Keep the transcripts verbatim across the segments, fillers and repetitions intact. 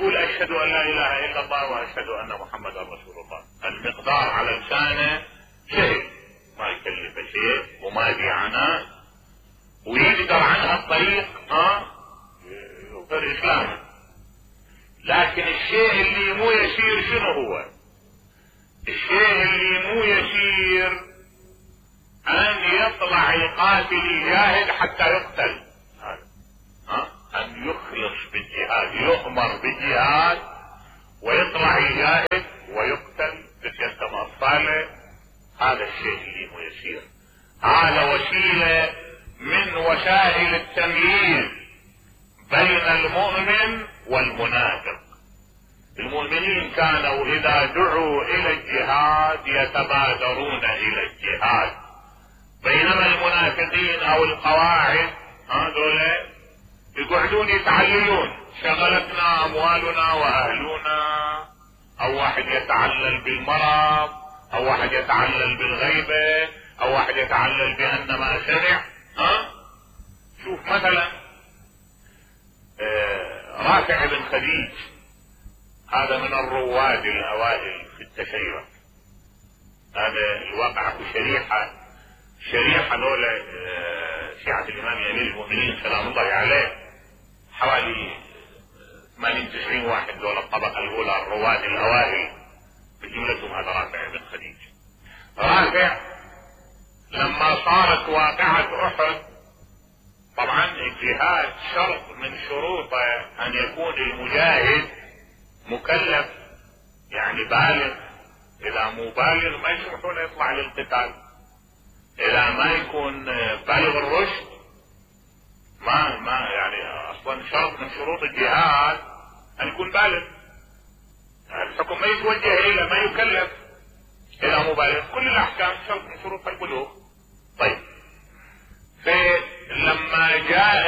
يقول اشهد ان لا اله الا الله واشهد ان محمدا رسول الله، المقدار على لسانه سهل، ما يكلف شيء وما يبي عناء، ويقدر عنها الطريق ها يظهر اسلامه. لكن الشيء اللي مو يسير شنو هو؟ الشيء اللي مو يسير ان يطلع يقاتل يجاهد حتى يقتل، ها ان يخلص بالجهاد، يؤمر بالجهاد ويطلع يجاهد ويقتل بسيادة اطفاله، هذا الشيء اللي مو يسير. هذا وسيلة من وسائل التمييز بين المؤمن والمنافق. المؤمنين كانوا اذا دعوا الى الجهاد يتبادرون الى الجهاد، بينما المنافقين او القواعد هذول يقعدون يتعللون، شغلتنا اموالنا واهلنا، او واحد يتعلل بالمرض، او واحد يتعلل بالغيبة، او واحد يتعلل بان ما سمع. ها شوف مثلا آه رافع بن خديج، هذا من الرواد الاوائل في التشيع، هذا الواقع في شريحة شريحة دولة شيعة الامام امير المؤمنين سلام الله عليه، حوالي ثمانين تسعين واحد دول الطبقة الاولى الرواد الاوائل، بجملتهم هذا رافع بن خديج. رافع لما صارت واقعة احد، طبعا الجهاد شرط من شروطه ان يكون المجاهد مكلف، يعني بالغ، اذا مو بالغ ما يسمحون يطلع للقتال، اذا ما يكون بالغ الرشد ما ما يعني اصلا شرط من شروط الجهاد ان يكون بالغ، الحكم ما يتوجه اليه، ما يكلف اذا مو بالغ، كل الاحكام شرط من شروط البلوغ. طيب فلما جاء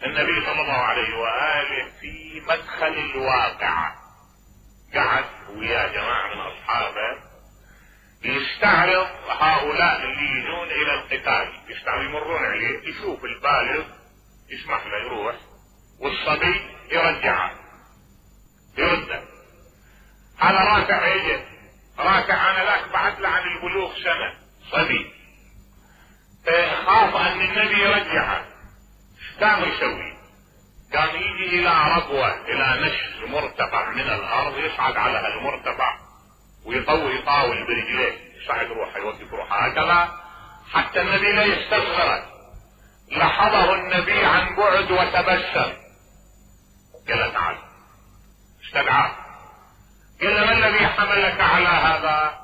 النبي صلى الله عليه واله في مدخل الواقعة، قعد ويا جماعة من اصحابه يستعرض هؤلاء اللي يجون الى القتال، يستعرض يمرون عليه، يشوف البالغ يسمح له يروح، والصبي يرجعه يرده. هذا رافع يجي، رافع انا لك بعد له عن البلوغ سنة، صبي، خاف ان النبي يرجعه، ايش كان يسوي؟ كان يجي الى ربوة، الى نشز مرتفع من الارض، يصعد على هالمرتفع ويطوي يطاول برجليه، يصعد روحه يوقف روحه هكذا حتى النبي لا يستصغره. لحظه النبي عن بعد وتبسم، قال تعال، استدعاه، قال ما الذي حملك على هذا؟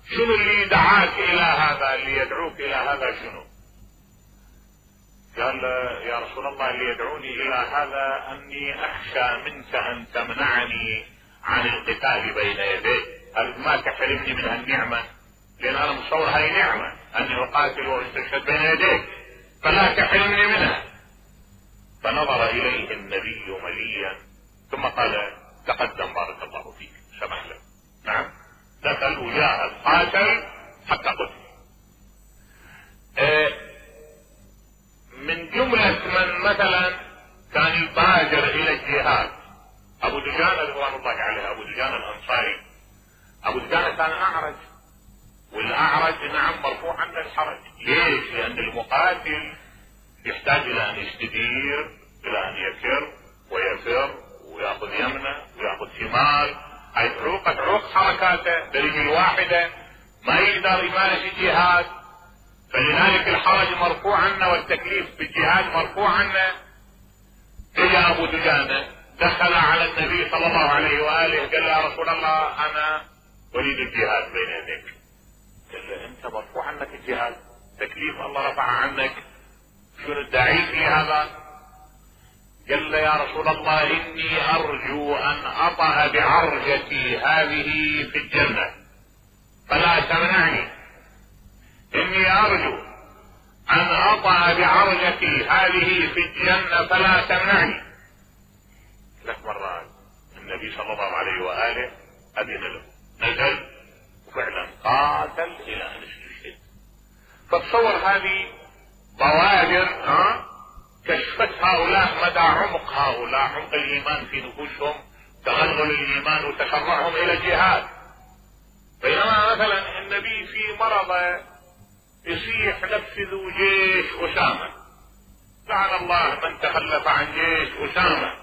شنو اللي دعاك الى هذا، اللي يدعوك الى هذا شنو؟ قال يا رسول الله اللي يدعوني الى هذا اني اخشى منك ان تمنعني عن القتال بين يديك، قال ما تحرمني من هالنعمة، لان انا مصور هاي نعمة اني اقاتل واستشهد بين يديك، فلا تحرمني منها. فنظر اليه النبي مليا ثم قال تقدم بارك الله فيك، سمح له. نعم، دخل وجاهد قاتل حتى قتل. اه من جملة من مثلا كان يبادر الى الجهاد ابو دجانة رضوان الله عليه، ابو دجانة الانصاري. ابو دجانة كان اعرج، والاعرج نعم مرفوع عنه الحرج. ليش؟ لان المقاتل يحتاج الى ان يستدير، الى ان يفر ويفر وياخذ يمنه وياخذ شمال، هاي عروقة عروق حركاته برجل واحدة، ما يقدر يمارس الجهاد، فلذلك الحرج مرفوع عنه والتكليف بالجهاد مرفوع عنه. اجى ابو دجانة دخل على النبي صلى الله عليه واله، قال يا رسول الله انا اريد الجهاد بين يديك. قال له انت مرفوع عنك الجهاد، تكليف الله رفع عنك، شنو الداعي في هذا؟ قال له يا رسول الله اني ارجو ان اطأ بعرجتي هذه في الجنة فلا تمنعني، اني ارجو ان اطأ بعرجتي هذه في الجنة فلا تمنعني. ثلاث مرات النبي صلى الله عليه واله اذن له، نزل وفعلا قاتل الى ان استشهد. فتصور هذه بوادر ها كشفت هؤلاء مدى عمق هؤلاء، عمق الايمان في نفوسهم، تغلغل الايمان وتشرعهم الى الجهاد. بينما مثلا النبي في مرضه يصيح نفذوا جيش اسامه، لعن الله من تخلف عن جيش اسامه،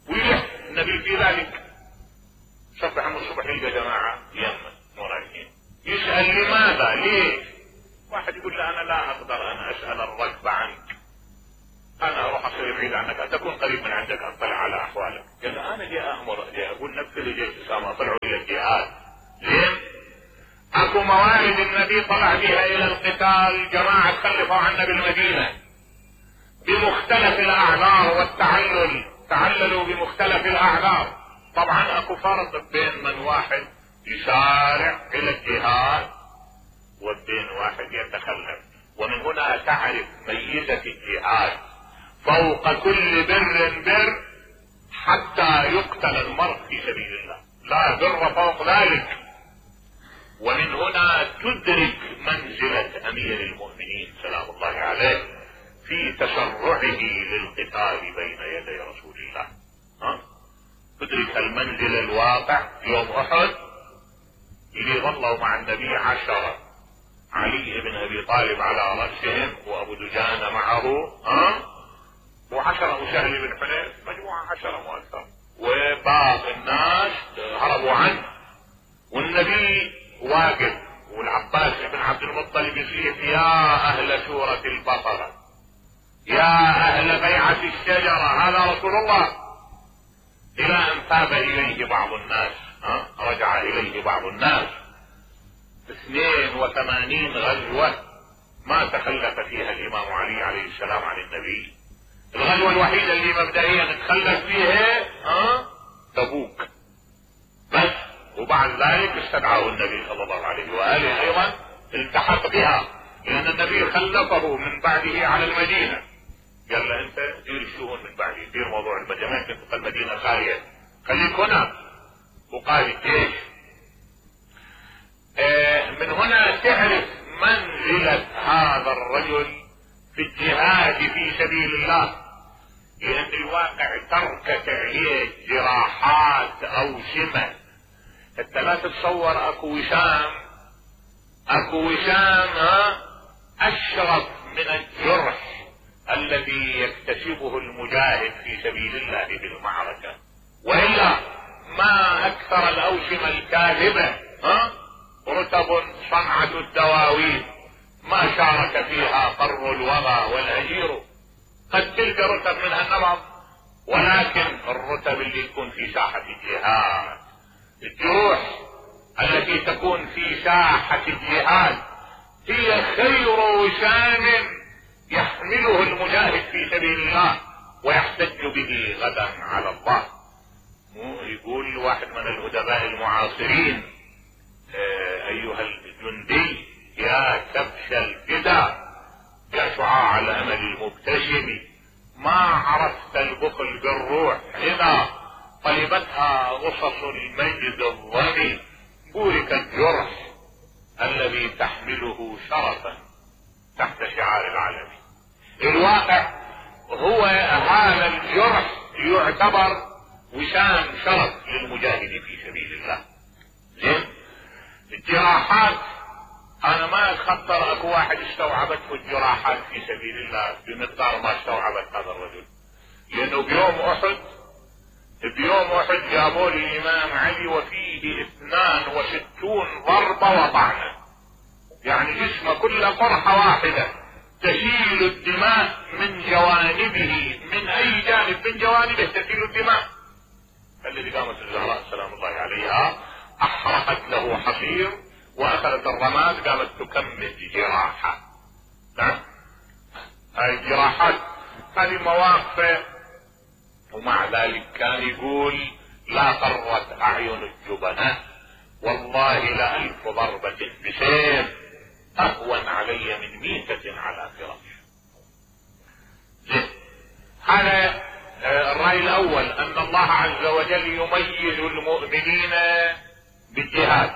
ويلح النبي في ذلك. صبح من الصبح يلقى جماعه يمن مو رايحين، يسال لماذا؟ ليش؟ واحد يقول له انا لا اقدر ان اسال الركب عنك، انا اروح اصير بعيد عنك، تكون قريب من عندك اطلع على احوالك. قال انا جاي امر، جاي اقول نفذ جيش اسامه، طلعوا الى الجهاد. ليه؟ اكو موارد النبي طلع بها الى القتال، جماعه تخلفوا عنا بالمدينه بمختلف الاعذار والتعلل، تعللوا بمختلف الاعذار. طبعا اكو فرق بين من واحد يسارع الى الجهاد وبين واحد يتخلف. ومن هنا تعرف ميزة الجهاد فوق كل بر بر حتى يقتل المرء في سبيل الله، لا بر فوق ذلك. ومن هنا تدرك منزلة امير المؤمنين سلام الله عليه في تسرعه للقتال بين يدي رسول الله. ها؟ تدرك المنزل الواقع. يوم احد اللي ظلوا مع النبي عشرة، علي بن ابي طالب على رأسهم وابو دجانة معه، ها؟ وعشرة وسهل بن حنيف، مجموعة عشرة مؤثر، وباقي الناس هربوا عنه. والنبي واقف والعباس بن عبد المطلب يصيح يا اهل سورة البقرة، يا اهل بيعة الشجرة، هذا رسول الله. الى ان تاب اليه بعض الناس، ها؟ رجع اليه بعض الناس. اثنين وثمانين غزوة ما تخلف فيها الامام علي عليه السلام عن النبي. الغزوة الوحيدة اللي مبدئيا تخلف فيها ها تبوك بس، وبعد ذلك استدعاه النبي صلى الله عليه واله ايضا التحق بها، لان النبي خلفه من بعده على المدينة، قال له انت دير الشؤون من بعدي، دير موضوع المدينة، ما يمكن تبقى المدينة خالية، خليك هنا وقائد الجيش. آه من هنا تعرف منزلة هذا الرجل في الجهاد في سبيل الله، لان الواقع تركت عليه جراحات او شمة. انت لا تتصور اكو وشام، اكو وشام ها اشرف من الجرح الذي يكتسبه المجاهد في سبيل الله في المعركة. والا ما اكثر الاوشمة الكاذبة، ها رتب صنعة الدواوين ما شارك فيها قر الوغى والهجير. قد تلقى رتب منها النمط، ولكن الرتب اللي تكون في ساحة الجهاد، الجروح التي تكون في ساحة الجهاد هي خير وشام يحمله المجاهد في سبيل الله ويحتج به غدا على الله. يقول واحد من الادباء المعاصرين آه ايها الجندي يا كبش الفدا، يا شعاع الامل المبتسم، ما عرفت البخل بالروح اذا طلبتها غصص المجد الظني، بورك الجرح الذي تحمله شرفا تحت شعار العالمين. الواقع هو هذا الجرح يعتبر وشام شرف للمجاهد في سبيل الله. زين الجراحات انا ما اتخطر اكو واحد استوعبته الجراحات في سبيل الله بمقدار ما استوعبت هذا الرجل، لانه بيوم احد بيوم احد جابوا لي الامام علي وفيه اثنان وستون ضربة وطعنة، يعني جسمه كله قرحة واحدة تسيل الدماء من جوانبه، من اي جانب من جوانبه تسيل الدماء. الذي قامت الزهراء سلام الله عليها احرقت له حصير واخذت الرماد قامت تكمل جراحة. نعم هاي الجراحات هذه مواقف. ومع ذلك كان يقول لا قرت اعين الجبناء والله لألف ضربة بسيف اهون علي من ميتة على فراش. هذا الرأي الاول، ان الله عز وجل يميز المؤمنين بالجهاد.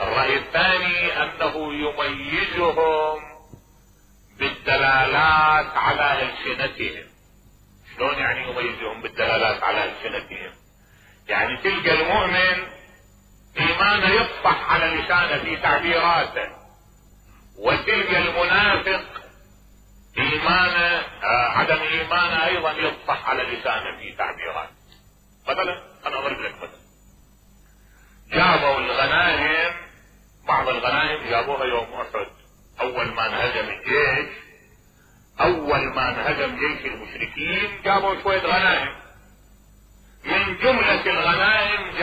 الرأي الثاني انه يميزهم بالدلالات على ألسنتهم. شلون يعني يميزهم بالدلالات على ألسنتهم؟ يعني تلقى المؤمن إيمانه يفصح على لسانه في تعبيراته، وتلقى المنافق إيمانه آه عدم إيمانه أيضا يفصح على لسانه في تعبيراته. مثلا أنا أضرب لك مثلا، جابوا الغنائم، بعض الغنائم جابوها يوم أحد، أول ما انهزم الجيش، أول ما انهزم جيش المشركين جابوا شوية غنائم، من جملة الغنائم